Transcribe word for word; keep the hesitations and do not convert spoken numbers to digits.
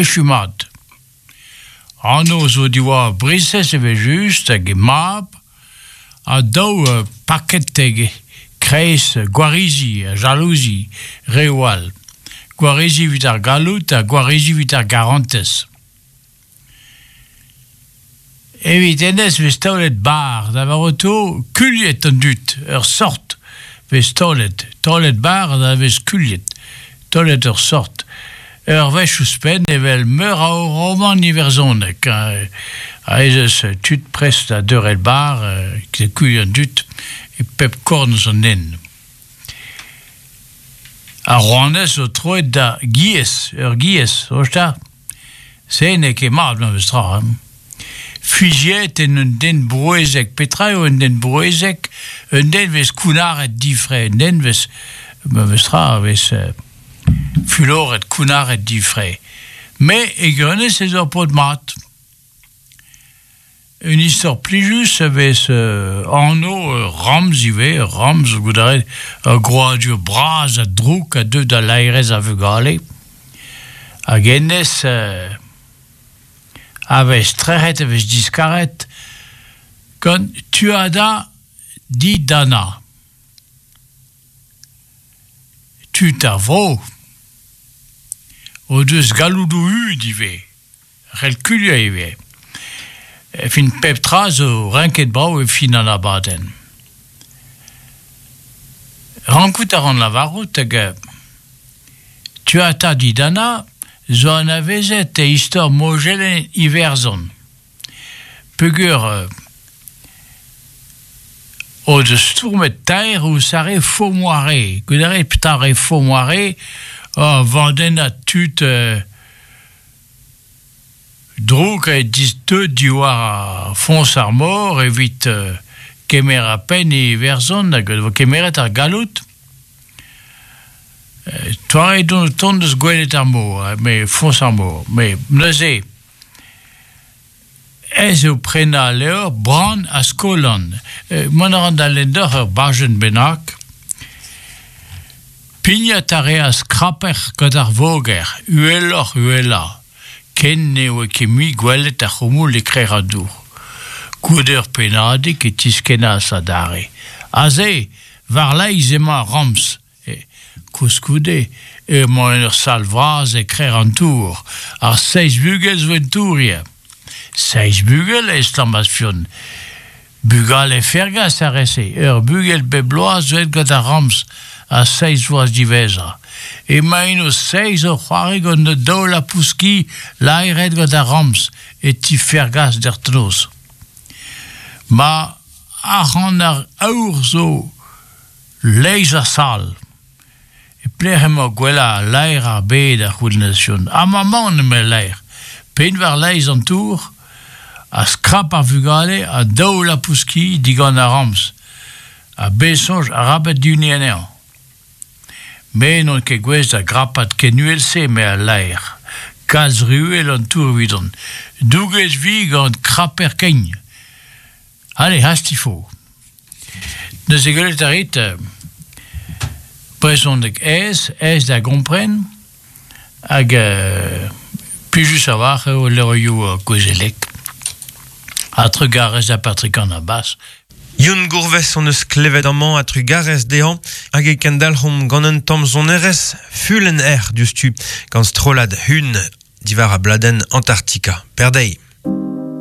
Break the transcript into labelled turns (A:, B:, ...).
A: echu mat. Anv zo diwar briñsez evel-just hag he mab, ha daou paket e-kreiz gwarizi, jalouzi, reoù all. Gwarizi evit ar galloud ha gwarizi evit ar garantez. Evit hennezh vez taolet barr, da lavarout eo kuliet an dud, ur sort vez taolet. Taolet barr da vez kuliet, taolet ur sort. Ur wech ouzhpenn evel meur a romant iwerzhonek. Ha ez eus tud prest da deurel barr, da kuilh an dud e pep korn eus an hent. Ar rouanez zo troet da giez, ur giez, soñj 'ta. Se n'eo ket mat memes tra. Hein. Fiziet en un den brouezek. Petra eo un den brouezek? Un den vez kounnaret difre, un den vez, memes tra, vez fuloret, kounnaret difre. Met e gwirionez ez eo paotr mat. Un istor plijus a vez euh, anv euh, ramz ivez, ramz, gouzout a rit, ur grouadur bras ha drouk a deu da laerezh ar vugale. Hag hennezh euh, a vez trec'het, a vez diskaret gant Tuatha Dé Danann. Tud ar vro o deus galloudoù hud ivez, c'hell kuliañ ivez. E fin pep tra zo renket brav e fin an abadenn. Rankout a ran lavarout hag Tuatha Dé Danann zo anavezet e istor mojenn Iwerzhon. Peogwir o deus stourmet taer ouzh ar re Fomoire. Gouzout a rit petra re Fomoire, ur vandennad tud euh, drouk a deuet diwar foñs ar mor evit euh, kemer ar penn e Iwerzhon hag e vo kemeret ar galloud. Toare don tont eus gwelet ar mor, met foñs ar mor. Met neuze, ez eo prenañ al levr Bran ha Skolan. Mont a ran da lenn deoc'h ur bajenn bennak. Pignat a reas Kraper gant ar voger, uheloc'h uhelañ. Ken ne oa ket mui gwelet ar c'houmoul e-krec'h an dour. Goude ur pennadig e tiskennas adarre. Aze, war-laez emañ ar ramz. Koulskoude, emañ en ur sal vras e-krec'h an tour. Ar seizh bugel zo en tour ivez. Seizh bugel e estlammas Fionn. Bugale Fergas ar re-se. Ur bugel bep bloaz zo aet gant ar ramz a seizh vloaz diwezhañ. Emaint o seizh o c'hoari gant an daou lapous-ki laeret gant ar ramz e ti Fergas dec'h noz. Ma arc'hant ar aour zo leizh ar sal. E pelec'h emañ gwellañ laer ar bed a c'houlennas Fionn. Amañ 'maon eme al laer. Pign war laez an tour, ha skrap ar vugale ha daou lapous-ki digant ar ramz. Ha bez soñj arabat dihuniñ anezhañ. Me n'on ket gouest da grapat ken uhel-se, eme al laer. Kalz re uhel an tour evidon. Douget vi gant kraper kein. Ale, hasti fo. Neuze gwelet a rit, brezhoneg aes, aes da gompren, hag euh, plijus a-walc'h eo levrioù gouezelek. Ha trugarez da Patrick an Abbas.
B: Yeun Gourves hon eus klevet amañ ha trugarez dezhañ hag e kendalc'homp gant un tamm sonerezh Fulenn Erc'h diouzhtu gant strollad Hun diwar ar bladenn Antarctica. Perdeiz.